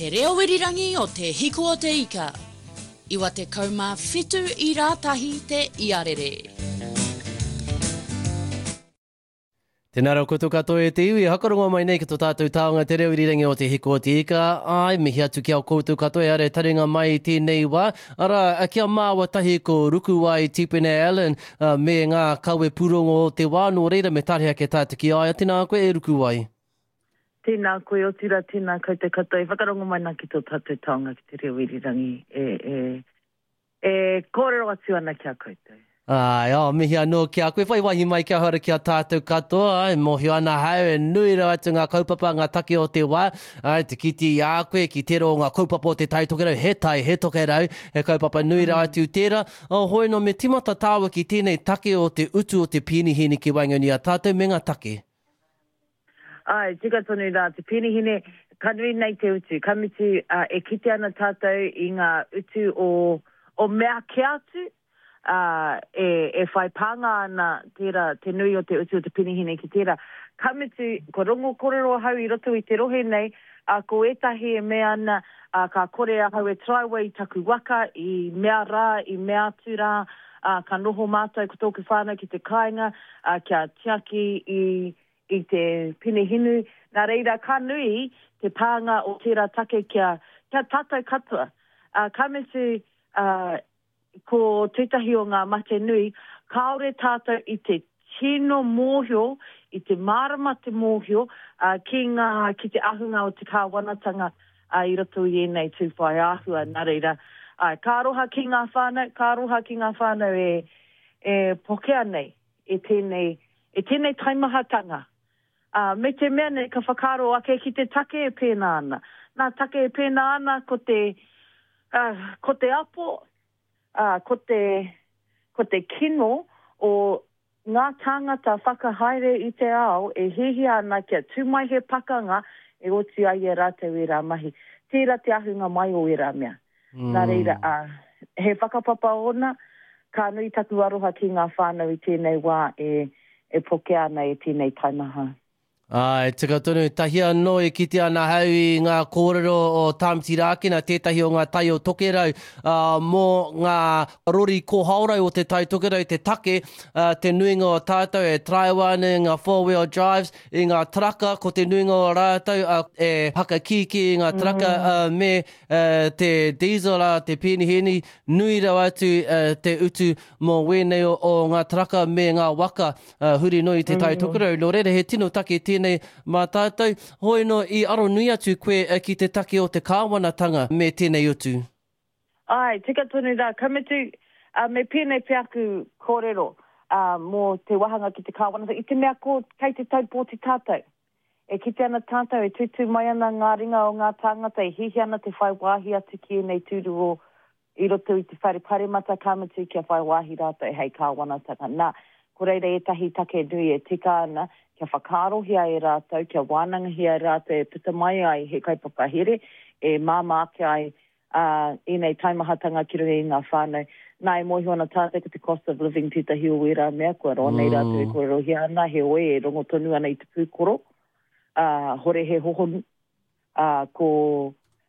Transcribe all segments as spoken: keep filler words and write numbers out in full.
Te reo irirangi o Te Hiku o Te Ika. Iwa te kaumā whitu i rātahi te iarere. Tēnā rau koutou katoa e te iwi, hakarongo mai nei ki tō tātou taonga te reo irirangi o Te Hiku o Te Ika. Ai, mihi atu ki a koutou katoa e are taringa mai i tēnei wā. Arā, kia māua tahi ko Rukuwai Tipene Allen me ngā kawe pūrongo o te wā, nō reira me tare ake tātou ki a ia. Tēnā koe e Rukuwai. Tēnā koe, otirā, tēnā koutou katoa e whakarongo mai nā ki tō tātou taonga ki te reo irirangi e, e, e kōrero atu ana ki a koutou. Ai, oh, mihi anō ki a koe, whai wāhi mai kia hora ki a tātou katoa, ai, mōhio ana hau, e nui rawa atu ngā kaupapa, ngā take o te wā, ai, te kite i a koe ki tērā o ngā kaupapa o te Tai Tokerau, he tai, he tokerau, he kaupapa nui rawa atu tērā. Oh, hoi nō, me timata tāua ki tēnei take o te utu o te pīnihini ki waenganui a tātou me ngā take. Ai, tika tonu rā, te pīnihine, ka nui nei te utu, ka mutu, uh, e kite ana tātou i ngā utu o, o mea kē atu, Uh, e, e whai pānga ana tērā, te nui o te utu o te penihine ki tērā. Ka mutu, ko rongo kōrero ahau i roto i te rohe nei, uh, ko ētahi e mea ana, uh, ka kore ahau e taraiwa i taku waka, i mea rā, i mea atu rā, uh, ka noho mātou ko tōku whānau ki te kāinga, uh, kia tiaki i, i te penihinu. Nā reira, ka nui te pānga o tērā take kia, kia tātou katoa. Uh, ka mutu, uh, ko tētahi o ngā mate nui, kāore tātou i te tino mōhio, i te mārama te mōhio, uh, ki ngā, ki te ahunga o te kāwanatanga uh, i roto i ēnei tūwhai āhua. Nā reira, uh, ka aroha ki ngā whānau, ka aroha ki ngā whānau e, e pokea nei, e tēnei, e tēnei taimahatanga. Uh, me te mea nei ka whakaaro ake ki te take e pēnā ana. Nā take e pēnā ana ko te, uh, ko te apo, Uh, ko te, ko te kino o ngā tāngata whakahaere i te ao e hihia ana kia tū mai he pakanga e oti ai e rātou e rā mahi. Tērā te ahunga mai o e rā mea. Mm. Nā reira, uh, he whakapapa ona, ka nui taku aroha ki ngā whānau i tēnei wā e, e pokea ana e tēnei taimaha. Ai, tika tonu, tahi anō e kite ana hau i ngā kōrero o Tāmati Rākena, tētahi o ngā tai o Tokerau, uh, mō ngā rori kōhaorau o te Tai Tokerau, te take, uh, te nuinga o tātou e taraiwa ana i ngā four-wheel drives, i ngā traka, ko te nuinga o rātou uh, e hakakīkī i ngā traka uh, me uh, te diesel, uh, te pīnihini, nui rawa atu uh, te utu mō wēnei o, o ngā traka me ngā waka uh, huri noi i te Tai Tokerau. Nō reira, he tino take tēnei mā tātou, hoi no i aro nui atu koe ki te take o te kāwanatanga me tēnei utu. Ai, tika tonu rā, ka mutu, uh, me pēnei pea aku kōrero uh, mō te wahanga ki te kāwanatanga, i te mea ko kei te taupōti tātou. E kite ana tātou, e tūtū mai ana ngā ringa o ngā tāngata, e hihi ana te whai wāhi atu ki ēnei tūru o i roto i te whare paremata, ka mutu kia whai wāhi rātou hei kāwanatanga. Nā, ko reira ētahi take nui e tika ana, kia whakaarohia e rātou, kia wānangahia e rātou e puta mai ai he kaupapa here, e māmā ake ai uh, ēnei taimahatanga ki runga i ngā whānau. Nā, e mōhio ana tātou ko te cost of living tētahi o ērā mea, kua roa nei rātou e kōrerohia ana, heoi e rongo tonu ana i te pūkoro, uh, hore he hohonu, uh, ko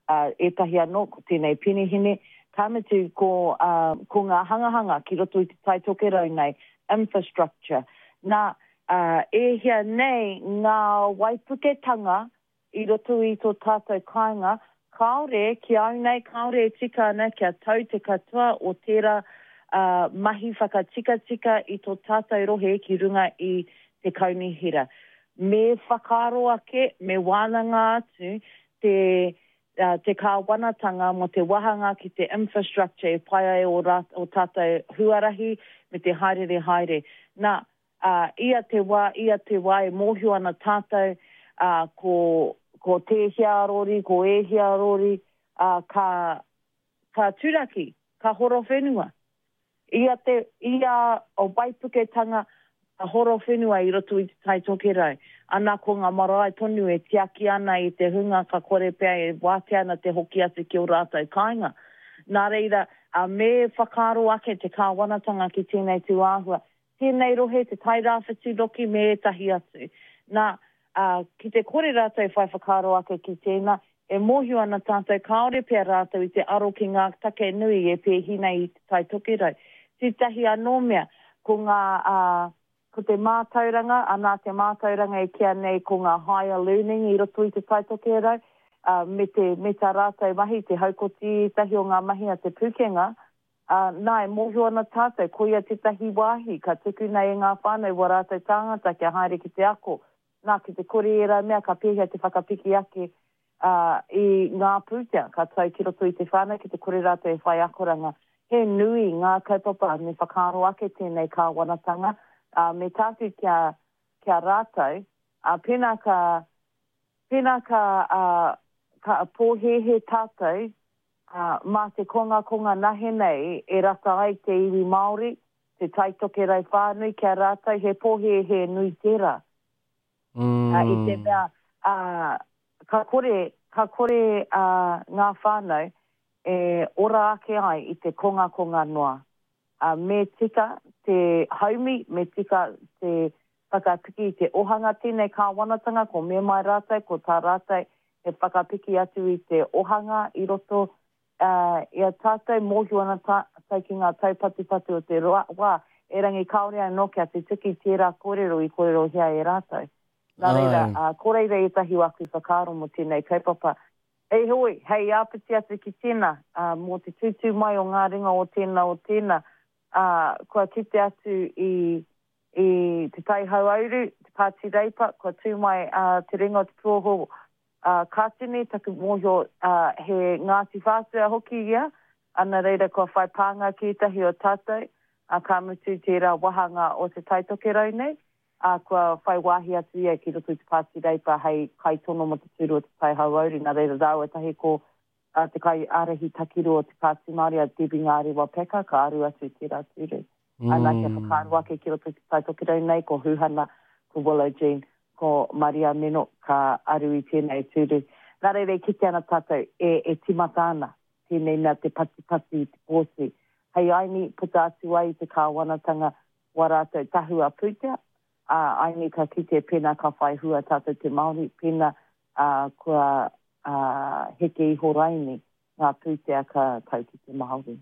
uh, ētahi anō, ko tēnei penihine, ka mutu ko, uh, ko ngā hangahanga ki roto i te Tai Tokerau nei, infrastructure. Nā, uh, e hia nei ngā waipuketanga i roto i tō tātou kāinga, kāore, ki au nei, kāore e tika ana kia tau te katoa o tērā uh, mahi whakatikatika i tō tātou rohe ki runga i te kaunihera. Me whakaaro ake, me wānanga atu te, uh, te kāwanatanga mō te wahanga ki te infrastructure e pai ai o, rā, o tātou huarahi me te haerere haere. Nā, uh, ia te wā, ia te wā e mōhio ana tātou uh, ko, ko tēhea rori, ko ēhea rori, uh, ka, ka turaki, ka horo whenua. Ia te, ia o waipuketanga, ka horo whenua i roto i te Tai Tokerau. Ana ko ngā marae tonu e tiaki ana i te hunga ka kore pea e wātea ana te hoki atu ki o rātou kāinga. Nā reira, uh, me whakaaro ake te kāwanatanga ki tēnei tūāhua. Tēnei rohe, te Tai Rāwhiti roki me ētahi atu. Nā, uh, ki te kore rātou whai whakaaro ake ki tēnā, E mōhio ana tātou kāore pea rātou i te aro ki ngā take nui e pēhi nei i te Tai Tokerau. Tētahi anō mea, ko ngā, uh, ko te mātauranga, anā te mātauranga e kīa nei ko ngā higher learning i roto i te Tai Tokerau, uh, me, te, me tā rātou mahi, te haukoti ētahi o ngā mahi a te pūkenga, uh, nā, e mōhio ana tātou, koia tētahi wāhi, ka tukuna e ngā whānau wā rātou tāngata kia haere ki te ako. Nā, ki te kore ērā mea, ka pēhea te whakapiki ake uh, i ngā pūtea, ka tau ki roto i te whānau, ki te kore rātou e whai akoranga. He nui ngā kaupapa me whakaaro ake tēnei kāwanatanga, uh, me tāku kia, kia rātou, uh, pēnā ka, pēnā ka, uh, ka pōhēhē tātou, uh, mā te kongakonga nahe nei e rata ai te iwi Māori, te Tai Tokerau whānui kia rātou, he pōhēhē nui tērā. Mm. Uh, i te mea, uh, ka kore, ka kore uh, ngā whānau e ora ake ai i te kongakonga noa. Uh, me tika te haumi, me tika te whakapiki i te ohanga tēnei kāwanatanga, ko me mai rātou, ko tā rātou e whakapiki atu i te ohanga i roto uh, i a tātou, mōhio ana tātou ki ngā taupatupatu o te roa, wā, erangi kāore anō kia tutuki tērā kōrero i kōrerohia e rātou. Nā reira, Ai. uh, ko reira ētahi o aku whakaaro mō tēnei kaupapa. Ei hoi, hei āpiti atu ki tēnā, uh, mō te tūtū mai o ngā ringa o tēnā o tēnā, uh, kua kite atu i, i te Tai Hauāuru, te Pāti Reipa, kua tū mai uh, te ringa o te Puoho uh, Kātene, taku mōhio uh, he Ngāti Whātua hoki ia, ana reira kua whai pānga ki ētahi o tātou, uh, ka mutu tērā wāhanga o te Tai Tokerau nei, uh, kua whai wāhi atu ia ki roto i te Pāti Reipa hei kaitono mō te tūru o te Tai Hauāuru, nā reira rāua tahi ko uh, te kai ārahi takiru o te Pāti Māori a Debbie Ngārewa Peka, ka aru atu i tērā tūru. Mm. Ana kia whakaaro ake ki roto i te Tai Tokerau nei, ko Huhana, ko Willow Jean, ko Maria Meno ka aru i tēnei tūru. Nā reira e kite ana tātou e, e timata ana, tēnei mea te patipati i te pōti. Hei aini puta atu ai i te kāwanatanga wā rātou tahua pūtea, uh, aini ka kite pēnā ka whai hua tātou te Māori, pēnā uh, kua uh, heke iho raini ngā pūtea ka tau ki te Māori.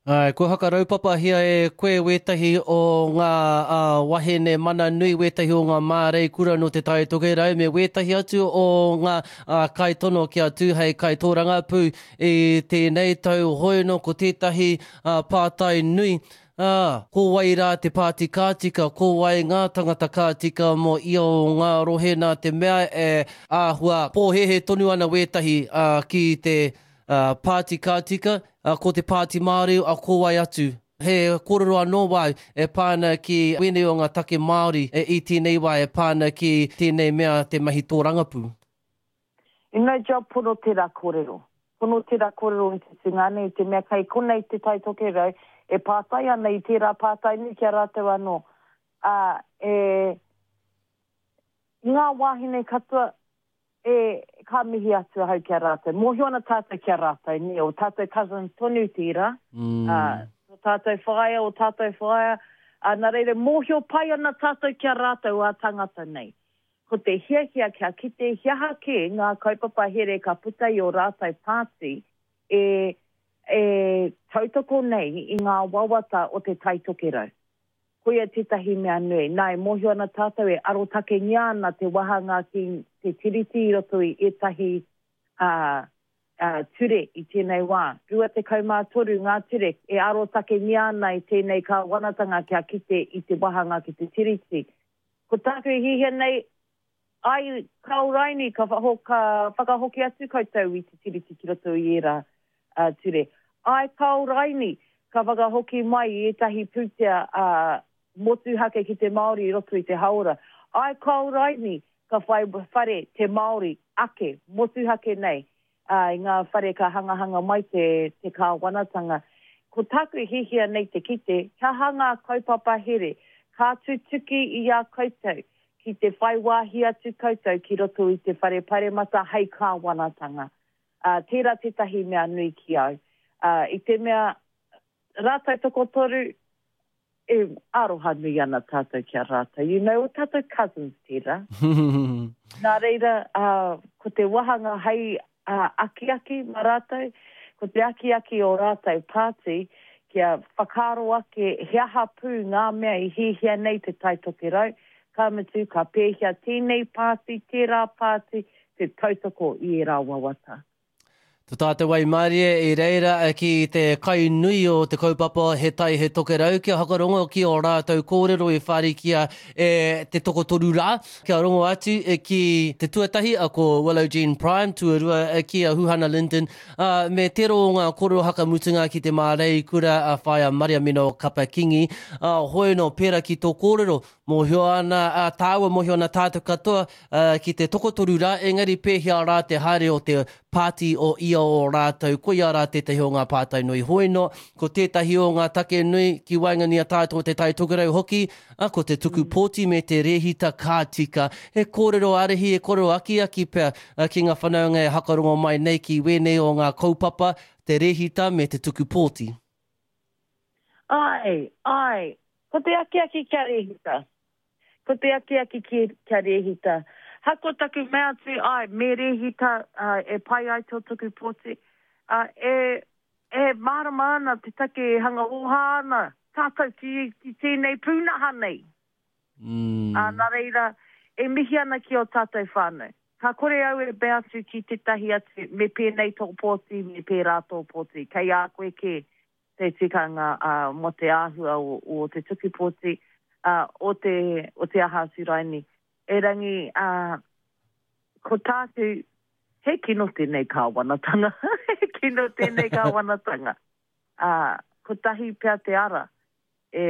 Ai, kua hakaraupapahia e koe wētahi o ngā uh, wahine mana nui, wētahi o ngā māreikura no te Tai Tokerau, me wētahi atu o ngā uh, kaitono kia tū hei kaitōrangapū i tēnei tau hoino ko tētahi uh, pātai nui. Ah, ko wai rā te pāti kātika, ko wai ngā tangata kātika mō ia o ngā rohe nā te mea e āhua pōhēhē tonu ana wētahi uh, ki te uh, pāti kātika, uh, ko te Pāti Māori, a ko wai atu. He kōrero anō wau e pāna ki wēnei o ngā take Māori e i tēnei wā e pāna ki tēnei mea te mahi tōrangapū. I no job pono tērā kōrero. Pono tērā kōrero i te tungāne, i te mea kei konei te Tai Tokerau, e pātai ana i tērā pātai nui kia rātou anō. Uh, e, ngā wāhine katoa, e, ka mihi atu ahau kia rātou. Mōhio ana tātou kia rātou, ne, o tātou cousin tonu tērā, Mm. uh, o tātou whaea, o tātou whaea, uh, nā reira, mōhio pai ana tātou kia rātou a tangata nei. Ko te hiahia kia kite hiaha ke ngā kaupapa here ka puta i o rātou pāti e, e tautoko nei i ngā wawata o te Tai Tokerau. Koia tētahi mea nui. Nā, e mōhio ana tātou e arotakengia ana te wāhanga ki te tiriti i roto i ētahi uh, uh, ture i tēnei wā. Rua tekau mā toru ngā ture e arotakengia ana i tēnei kāwanatanga kia kite i te wāhanga ki te tiriti. Ko tāku e hihia nei, ai kao raini ka, whaho, ka whakahoki atu koutou i te tiriti ki roto i ērā uh, ture. Ai kao raini ka whakahoki mai i ētahi pūtea uh, motuhake ki te Māori i roto i te haora. Ai kao raini ka whai whare te Māori ake, motuhake nei, uh, i ngā whare ka hangahanga mai te, te kāwanatanga. Ko tāku e hihia nei te kite, ka hanga kaupapa here, ka tutuki i a koutou, ki te whai wāhi atu koutou ki roto i te whare paremata hei kāwanatanga. Uh, tērā tētahi mea nui ki au. Uh, I te mea rātou tokotoru, e aroha nui ana tātou ki a rātou. You know, o tātou cousins tērā. Nā reira, uh, ko te wāhanga hei uh, akiaki mā rātou, ko te akiaki o rātou pāti, kia whakaaro ake he aha pū ngā mea i hiahia nei te Tai Tokerau, ka mutu ka pēhea tēnei pāti, tērā pāti, te tautoko i ērā wawata. Tō tātou waimarie i reira ki te kai nui o te kaupapa He Tai He Tokerau kia whakarongo ki o rātou kōrero i whārikia e te tokotoru rā. Kia rongo atu ki te tuatahi a ko Willow Jean Prime, tuarua ki a Huhana Lyndon, uh, me tero o ngā kōrero hakamutunga ki te māreikura a whaia Mariamino Kapa Kingi. Uh, hoi no pera ki tō kōrero, mōhio ana a tāua, mōhio ana tātou katoa uh, ki te tokotoru rā, engari pēhea rā te haere o te pāti o ia o rātou, koia rā tētahi o ngā pātai nui hoi no, ko tētahi o ngā take nui ki waenganui a tātou te Tai Tokerau hoki, a, ko te tuku pōti me te rehita ka tika. He kōrero ārahi, he kōrero akiaki pea a, ki ngā whanaunga e hakarongo mai nei ki wēnei o ngā kaupapa, te rehita me te tuku pōti. Ai, ai, ko te akiaki kia rehita. Ko te akiaki kia rehita. Hako taku mea atu, ai, me rehita uh, e pai ai tō tuku pōti. Uh, e, e mārama ana te take e hanga oha ana tātou ki, ki tēnei pūnaha nei. Mm. Uh, nā reira, e mihi ana ki o tātou whānau. Ka kore au e mea atu ki tētahi atu, me pēnei tō pōti, me pērā tō pōti. Kei a koe ke te tikanga uh, mō te āhua o, o te tuku pōti, uh, o, te, o te aha atu raini. Erangi, uh, ko tāku, he kino tēnei kāwanatanga. He kino tēnei kāwanatanga. Uh, kotahi pea te ara e,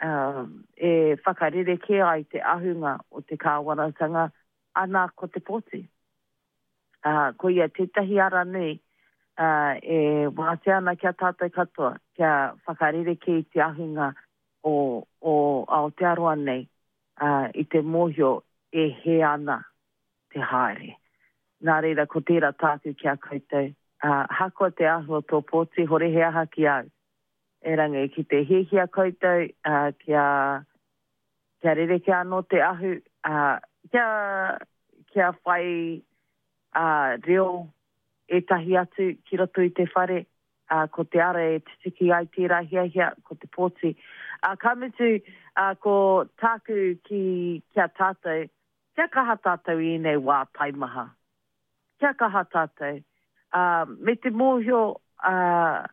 uh, e whakarere ai te ahunga o te kāwanatanga, ana ko te pōti. Uh, ko ia tētahi ara nui uh, e wātea ana kia tātou katoa, kia whakarere te ahunga o, o Aotearoa nei, uh, i te mōhio e he ana te haere. Nā reira, ko tērā tāku kia koutou. Uh, hakoa te āhua tō pōti, hore he aha ki au. Erangi, ki te hiahia koutou, uh, kia, kia rerekē anō te ahu, uh, kia, kia whai uh, reo ētahi atu ki roto i te whare, uh, ko te ara e tutuki ai tērā hiahia, ko te pōti. Uh, ka mutu, uh, ko tāku ki, kia tātou, kia kaha tātou i ēnei wā taimaha. Kia kaha tātou. Uh, me te mōhio, uh,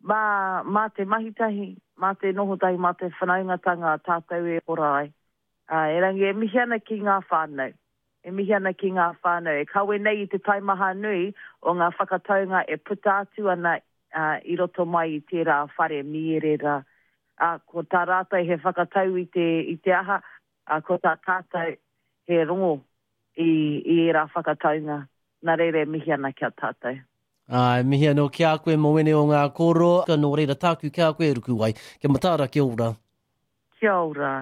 mā, mā te mahitahi, mā te nohotahi, mā te whanaungatanga tātou e ora ai. Uh, erangi, e mihi ana ki ngā whānau. E mihi ana ki ngā whānau. E kawe nei i te taimaha nui o ngā whakataunga e puta atu ana uh, i roto mai i tērā whare miere rā. Uh, ko tā rātou he whakatau i te, i te aha, uh, ko tā tātou he rongo i, i ērā whakataunga. Nā reira e mihi ana kia tātou. Ai, mihi anō ki a koe mō wene o ngā kōrero, ka nō reira tāku ki a koe Rukuwai. Kia mataara, kia ora. Kia ora.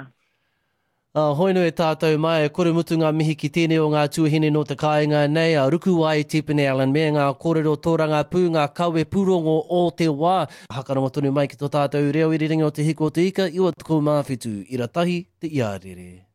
Uh, hoi nui e tātou mai, e kore mutu ngā mihi ki tēnei o ngā tuahine no te kāinga nei, a Rukuwai Tipene Allen me ngā kōrero tōrangapū, ngā kawe pūrongo o te wā. Hakarongo tonu mai ki tō tātou reo irirangi o Te Hiku o Te Ika, iwa tekau mā whitu, ira tahi, te iarere.